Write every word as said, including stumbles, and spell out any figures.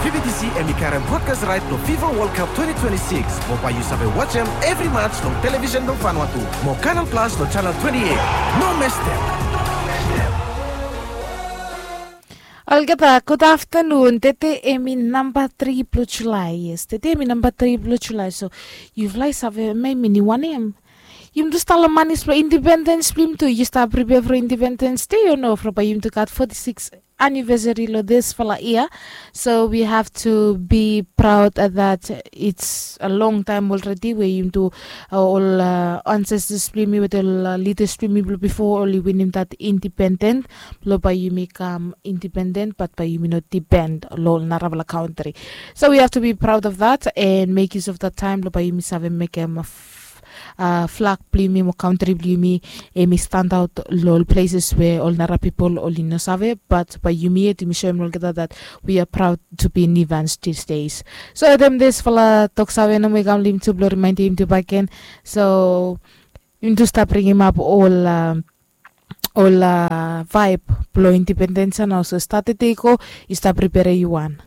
B B T C em i karem broadcast right long FIFA World Cup twenty twenty-six. Mo bae yu save wajem evri match long television blong Vanuatu mo Canal Plus long channel twenty-eight. No mestem. Olgeta, gud aftanun. Tede em i namba tri blong Julae. Yes, tede em i namba tri blong Julae. So yufala i save, em i ni wanem? Yumi tu stap long manis blong indipendens blong yumi tu. Yu stap pripea from indipendens de, yu no, from bae yumi tu gat forty-six anivesari long disfala yia. So we have to be proud that it's a long time already we yumi tu, ol ansestas blong yumi wetem ol lidas blong yumi blong bifo oli winim dat indipenden blong bae yumi kam indipenden, bat bae yumi no dipen long ol narafala kantri. So we have to be proud of that and make use of that time blong bae yumi save mekem flag blong yumi mo kantri blong yumi em i standaot long ol pleses we ol nara pipol oli no save, bat bae yumi yet yumi soem long olgeta dat we are proud to be Nivans these days. So wetem disfala toksave nomo i kam long yumi tu blong rimaendem yumi tu bakegen. So yumi tu stap bringimap ol ol vaeb blong indipendens ya nao. So stat tede i go, yu stap pripere yu wan.